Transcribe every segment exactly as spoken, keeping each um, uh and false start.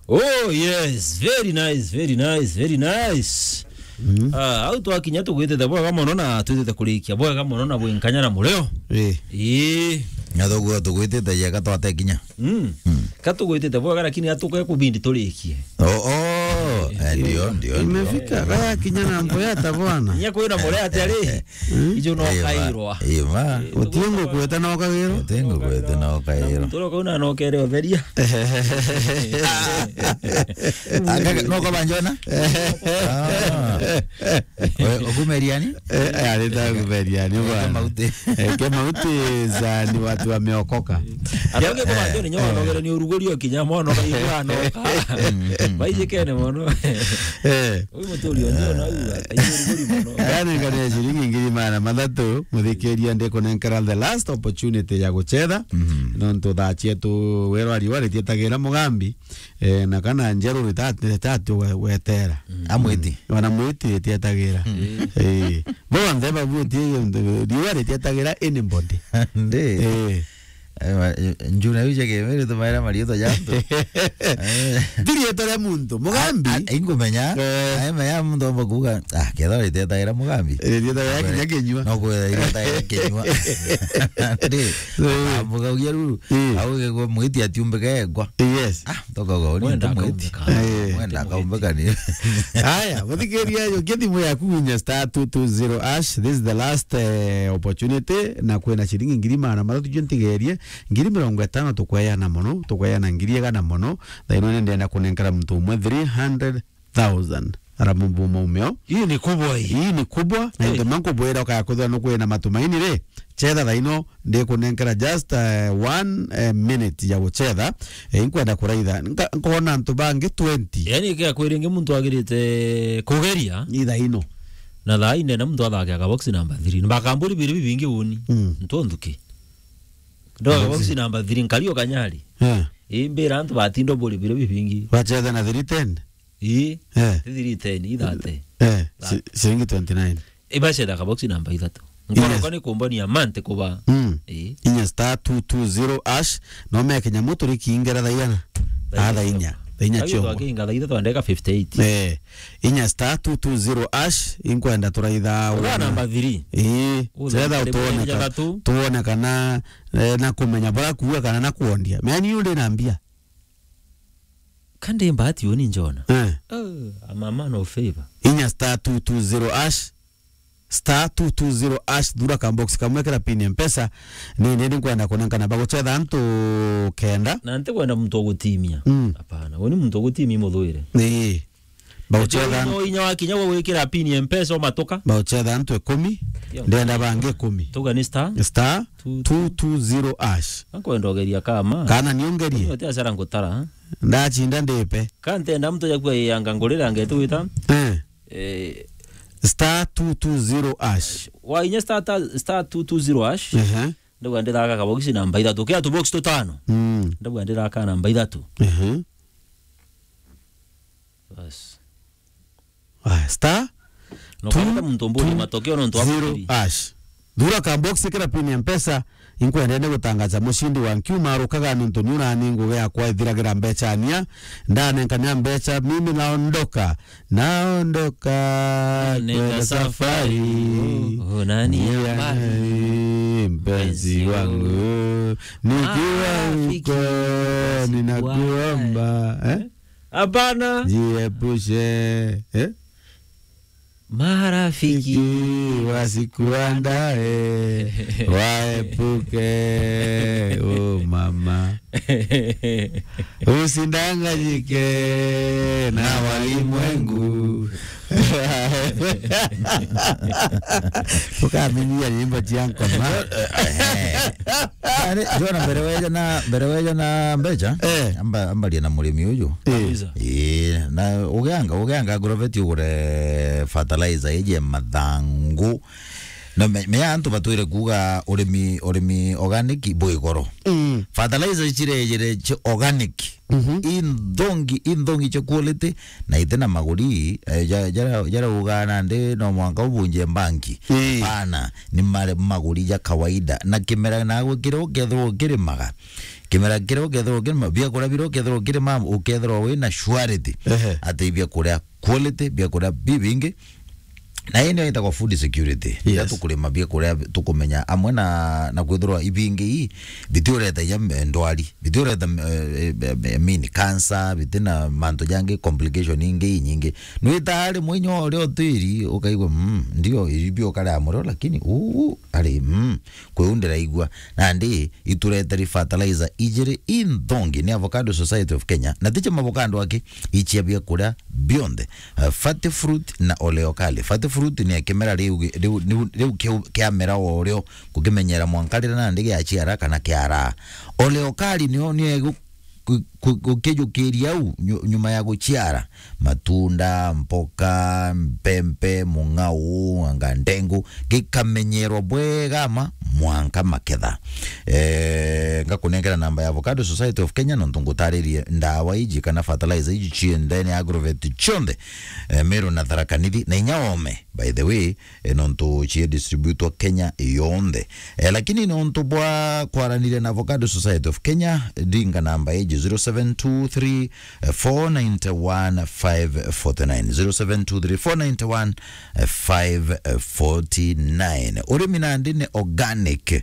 Oh, yes. Very nice, very nice, very nice. Mm. Ah, au twakinya tugwitite bwega mono na twitite kurikia bwega mono na bwinkanya na murio. Eh. Ii. Na tuguo tugwitite yega twatekinya. Mm. Mm. Ka tugwitite bwega, lakini atuke kubindi turikie. Oh, oh. Eh, ndio, ndio, ndio. Imefika, kaya kinya na mboya ta bwana. Nya kwina muria ati ari. Mm. Ijo no kairwa. Ima. Eh, utingo kweta no kagiro. Utingo kweta no kairwa. Muntu uria ukauna no kere utheria. Aka no kwa banjona? Ah. We, okumeriani? Eh, eh, arita kumeriani, bwana. Mauti. Eh, ke mauti za ni watu wameokoka. Atonge kwa banjoni nyo, eh, nogere ni uruguri o kinya mono, kaigwa no ka. Mm, mm. Baijikene mono. Eh. Uyu muturi onjo na uga, kaigwa uruguri mono. Aya ni ngari ya ciringi ngiri magana mathatu, muthikiria ndikunenkera the last opportunity ya gucetha. Mhm. Nontu thaa cietu werwa riwa ritietagira mugambi. Eh, na kana njeru rita-, ritati we-, wetera. Mm. Amwiti. Wana mwiti ritietagira. Mm. Eh. Bonthe babuti riwa ritietagira anybody. Ndi. Eh. Eh, ma-, eh, njuna yu cia kimiri tumaira marietwa ja antu. Eh. Ti rietwa ria muntu, mugambi. A-, a-, ingumenya. Eh. Ae menya muntu omba kuuga, "Ah, kethwa ritietagira mugambi." Ritietagira kinya kinyua. No kwethira ritietagira kinyua. Ndi. Eh. Ambuga ugia ruru. Eh. Au gigwa mwiti atiumbike egwa. Yes. Ah, toka gwa uri. Mwenda ntumwiti. Akaumbika. Eh. Mwenda akaumbika ni. Aya, muthikiria yo, nge thimu yaku winya star two two zero hash. This is the last, eh, opportunity. Na kwina ciringi ngiri magana mathatu jo ntigerie. Ngiri mirongo itano tukweana mono, tukweana ngiri igana mono. Thaino ni ndenda kunenkera muntu umwe three hundred thousand. Ara mumbu maumeo. Hii ni kubwa hii. Hii ni kubwa. Na hey, ndio maana nkubwira ukaya kwithirwa nukwina matumaini ri. Chetha thaino, ndikunenkera just, eh, one, eh, minute ya guchetha. Eh, inkwenda kuraitha. Nka-, nkona antu bangi twenty. Yani, kia kwiri ingi muntu agirite kugeria. Ithaino. Na thaa ine na muntu athake akabox number three. Mbakamburi biri bibingi uni. Mm. Ntu nthuki. Ndo box number three, nkari o kanyari. Eh. Imbira antu batindo buri biri bibingi. Bachetha na three ten? Ii. Eh. Ti three ten, i thirty. Eh, ci-, ciringi twenty nine. Ibacetha kabox number ithatu. Yes. Nkoroka ni kumbania mante kuba. Mm. Ii. Inya star two two zero hash, no meke nyamu turi kiingera thaiyana. Thaa inya. Ah, thaa inya. Thaa inya ciongo. Twakinga thaa ithatu na ndagika fifty eight. Eh, inya star two two zero hash, inkwenda turaitha. Ura number three. Ii. Chetha tuone ka-, tuone kana, eh, na kumenya bara kuuga kana na kuondia. Meni yu ndi na mbia. Kandi mbati uni njona. Eh. Oh, I'm a man of favor. Inya star two two zero hash. Star two two zero hash, thura ka box kamwe kira pin ya Mpesa. Ni, ni, ni nkwenda kunenkana baguchetha antu kenda. Na ntikwenda muntu ogutimia. Mm. Hapana, uni muntu ogutimia muthuire. Ni. Bauchetha. Inya, inya wakinya gwa gwikira pin ya Mpesa umatuka. Bauchetha antu ikumi. Yo. Ndenda bangi ikumi. Tuga ni star. Star two two zero hash. Nkwenda ugeria kama. Kana niongerie. Uni uti asara ngutara, ha? Ndachinda ndipe. Ka ntenda muntu jakua yanga ngurira ngetu wita. Eh. Eh. Star two two zero hash. Wa inya star ta-, star two two zero hash. Ehe. Ndauga ndithaka kabogisi namba ithatu. Kia tubox tutano. Mm. Ndauga ndithaka namba ithatu. Ehe. Bas. Aya, star. No, two, kwenda muntu mburi two, matokeo nontu wa zero, hash. Thura ka box kira pin ya Mpesa, inkwenda ni gutangaza mushindi wa nkiuma arukaga nontu ni urani ngugi yakwa ithiragira mbecha ania. Ndanenkania mbecha, mimi naondoka. Naondoka. Nenda kwenda safari. Safari. Oh, oh, nani ya mbali? Mpenzi wangu. Nikiwa huko, ninakuomba, eh? Hapana. Jiepushe, eh? Marafiki. Fiki wasikuandae, waepuke, oh mama. Usidanganyike na walimwengu. Tukamenyia nyimbo cia ngoma. Eh, eh. Ari, Jona, mbere weja na, mbere weja na mbecha, eh, amba, ambaria na murimi uyu. Eh. Kabisa. Ii, na ugeanga, ugeanga agrovet ugure fertilizer iji ya mathangu. Na me-, menya antu batwire kuuga urimi, urimi organic bwi goro. Mm. Fertilizer cirejire ci organic. Mhm. Inthongi, inthongi cia quality, na ite na maguri, eh, ja-, jara-, jaraugaa nandi no mwanka ubunje mbanki. Ii. Hapana, ni mare-, maguri ja kawaida. Na kimera nagwe kiria ukethirwa ukirimaga, kimera kiria ukethirwa ukirima, biakuria biria ukethirwa ukirima, ukethirwa wina surety. Ehe. Ati biakuria quality, biakuria bibingi. Na ii nio itagwa food security. Yes. Riria tukurima biakuria tukumenya amwe na, na kwithirwa ibingi ii, bitiureta inya, eh, ndwari, bitiureta, eh, eh, eh, I mean, cancer, bitina mantu jangi, complication ingi inyingi. Nwitaga rimwe inya uria utiri, ukaigua, mm, ndio, ibi ukaria murio, lakini, uu, ari, mm, kwi u ndiraigua. Nandi, itureteri fertilizer ijiri inthongi ni Avocado Society of Kenya, na ti cia mavocado aki, icia biakuria bionthe. Eh, Fati Fruit na Oleo Kali. Fati Fruit ni kimera riu gi-, riu, riu, riu kiu kiamera o rio, gukimenyera mwanka riria nandi giaciara kana kiaraa. Oleo Kali nio, nio igu-, ku-, ku-, gukijukiria au nyu-, nyuma ya guciara. Matunda, mpoka, mpempe, mung'au, anga ndengu, gikamenyerwa bwega ma mwanka maketha. Eh, ngakunengera namba ya Avocado Society of Kenya, nontu ngutaririe ndawa iji kana fertilizer iji cie ndene ya agrovet cionthe, eh, Meru na Tharaka Nithi, na inya Ome, by the way, eh, nontu cie distributwa Kenya yonthe. Eh, lakini nontu bwa kwaraniria na Avocado Society of Kenya, ringa namba iji, zero seven two three, four nine one, five forty nine, zero seven two three, four nine one, five forty nine. Urimi nandi ni organic,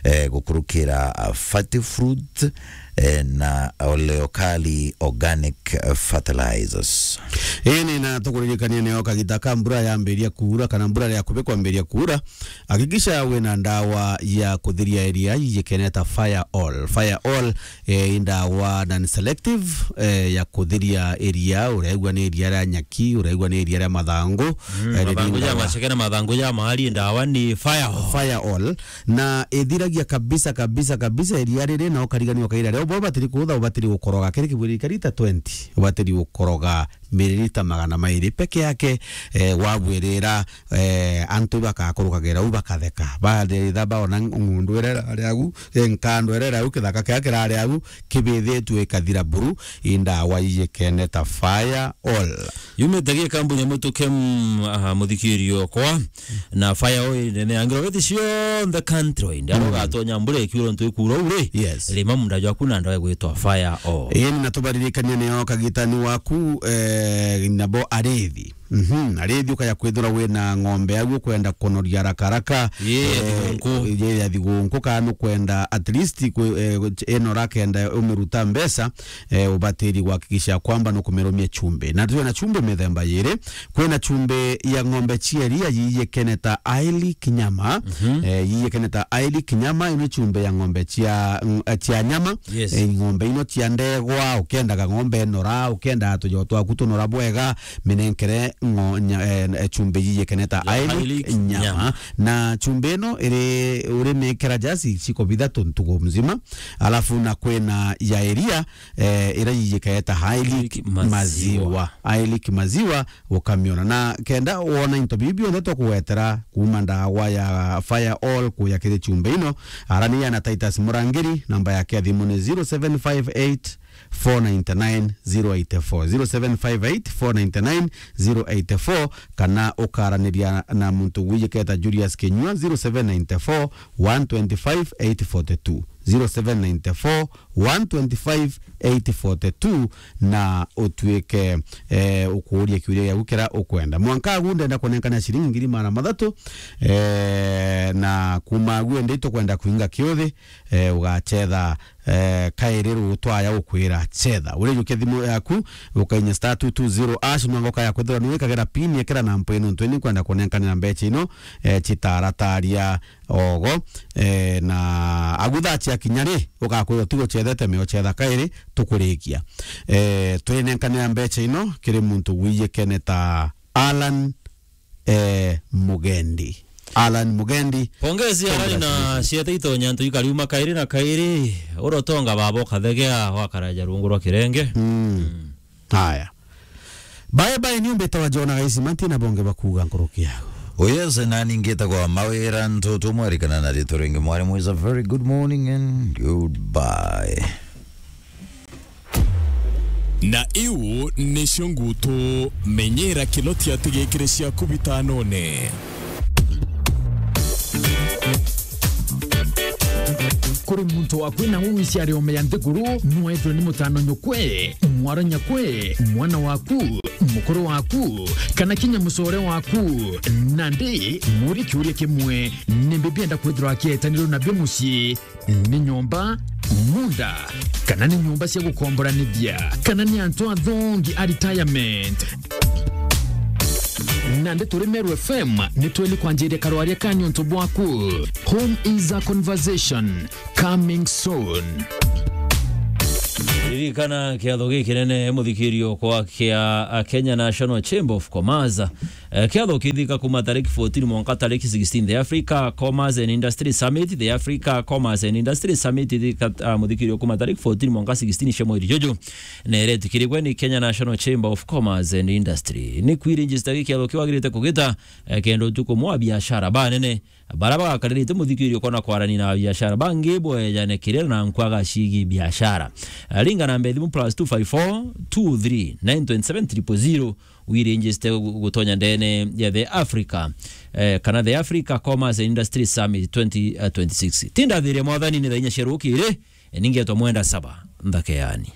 eh, gukurukira, ah, Fati Fruit, eh, na Oleo Kali Organic, eh, Fertilizers. Ii ni na tukuririkania nio kagita ka mbura yambiria kuura kana mbura ria kubi kwambiria kuura, hakikisha wina ndawa ya kuthiria iria ijikeneta Fire All. Fire All, eh, i ndawa non-selective, eh, ya kuthiria iria, uraigua ni iria ria nyaki, uraigua ni iria ria mathangu, mm, eh, mathangu ja maceke na mathangu ja mahari, ndawa ni Fire All. Fire All. Na ithiragia kabisa, kabisa, kabisa iria riri, na ukarigania ukaira ria. Ubo ubatiri kuutha, ubatiri gukoroga. Kiri kibwiri kari ta twenty, ubatiri gukoroga miririta magana mairi peke yake, eh, wabwirira, eh, antu bakakurukagira u bakatheka. Bathitha baona ng'undu iria irari agu, eh, nkando iria irari agu, kithaka kiria kirari agu, kibithitue ikathira buru, i ndawa ijikeneta Fire All. Yumite gi kambuni ya Mutuke, mm, aha, muthikirio okwa, na Fire All nene ya ngirogethi cionthe country. Ndaro gatonya mbura ikiura ntu ikura uri. Yes. Rima munda jwaku na ndawa igwitwa Fire All. Ii, na tubaririkania nio kagitani waku, eh, nabo arithi. Mhm, arithi ukaya kwithirwa wina ng'ombe au ukwenda kunoria haraka haraka. Ye ya, eh, thigunku. Ye ya thigunku, kana nukwenda at least kwi-, eh, inora kenda umiruta mbeca, eh, ubatiri gwakikisha kwamba nukumirumia chumbi. Na twina chumbi mithemba yiri. Kwina chumbi ya ng'ombe cia iria yijikeneta Aili Kinyama. Mhm. Eh, yijikeneta Aili Kinyama, ino chumbi ya ng'ombe cia, ng-, eh, cia nyama. Yes. Eh, ng'ombe ino cia ndegwa, ukendaga ng'ombe inora, ukendaga tujo twaku tunora bwega, minenkere ng'o-, nya-, eh, eh, chumbi yijikeneta Aili Kinyama. Nyama. Na chumbi ino iri, urimikira jasi ciko bithatu ntugu mzima. Alafu na kwina ya iria, eh, ira yijikaeta Aili Maziwa. Maziwa. Aili Maziwa, ukamiona. Na kenda wona into bibi bionthe tukugwetera kuma ndawa ya Fire All kuya kiri chumbi ino, arania na Titus Murangiri, namba yake ya thimu ni zero seven five eight, four nine nine, zero eight four, zero seven five eight, four nine nine, zero eight four, kana ukaraniria na muntu wijiketa Julius Kinyua, zero seven nine four, one twenty five, eight forty two, zero seven nine four, one twenty five, eight forty two, na utuike, eh, ukuuria kiuria giaku kiria ukwenda. Mwanka agu ndenda kunenkana ciringi ngiri magana mathatu, eh, na kuma agu indi tukwenda kuinga kiuthi, eh, ugachetha, eh, kairi rutwaya ukwira chetha. Urijukia thimu yaku, ukainya star two two zero hash, mwanka ukaya kwithirwa ni wikagira pin, ikira namba ino ntwini kwenda kunenkanira mbecha ino, eh, chitarataria ogo, eh, na agu thaa ciakinya ri, ugakwirwo ti gucethete, mio cetha kairi, tukurikia. Eh, twinenkanira mbecha ino kiri muntu wijikene ta Alan, eh, Mugendi. Alan Mugendi. Pongezi, Alan, na congratulations. Ciete itonya ntu ikariuma kairi na kairi, urotonga baba ukathegea wakaraja rungu rwa kirenge. Mm. Mm. Haya. Bye bye, ni umbite wa Jona Gaisi Manti na bonge bakuga nkuruki yagu. Oh yes, nani ngitagwa Mawira Ntutu, mwarikana na ritwa ringi mwari mwiza. Very good morning and goodbye. Na iu nicio ngutu, menyera Kinoti atigikire ciaku bitanone. Kuri muntu waku na uwi ciari ome ya nthiguru, nwethwe ni mutano nyukwe, mwara nyakwe, mwana waku, mukuru waku, kana kinya mucore waku. Nandi, muri kiuria kimwe, ni mbi bienda kwithirwa akietanirwo nabio mucii? Ni nyomba, munda, kana ni nyomba cia gukomboranithia, kana ni antu athongi a retirement? Nandi turi Meru F M, ni tweli kwanjiria karwaria ka niuntu bwaku. Home is a conversation, coming soon. Ririkana kiatho gikinene, muthikirio, kwa kia, a, Kenya National Chamber of Commerce. Eh, kiatho kithika kuma tariki fourteen mwanka tariki sixteen. The Africa Commerce and Industry Summit, the Africa Commerce and Industry Summit ithika, ah, muthikirio, kuma tariki fourteen mwanka sixteen cia mweri juju. Na iretikirigwe ni Kenya National Chamber of Commerce and Industry. Ni kwiregister gi kiatho kiu wagirite kugita, eh, kenda utuku mwa biashara banene bara bagakaririte muthikirio kona kwarania na biashara bangi bwejane kirira na nkwaga cigi biashara. Eh, ringa namba ya thimu plus two five four two three nine twenty seven triple zero, wiregister gu-, gutonya ndene ya The Africa, eh, kana The Africa Commerce and Industry Summit twenty twenty-six. Tindathiria mwathani ni thaa inya cia rukiri, eh, ningetwa Mwenda Saba, nthake yani.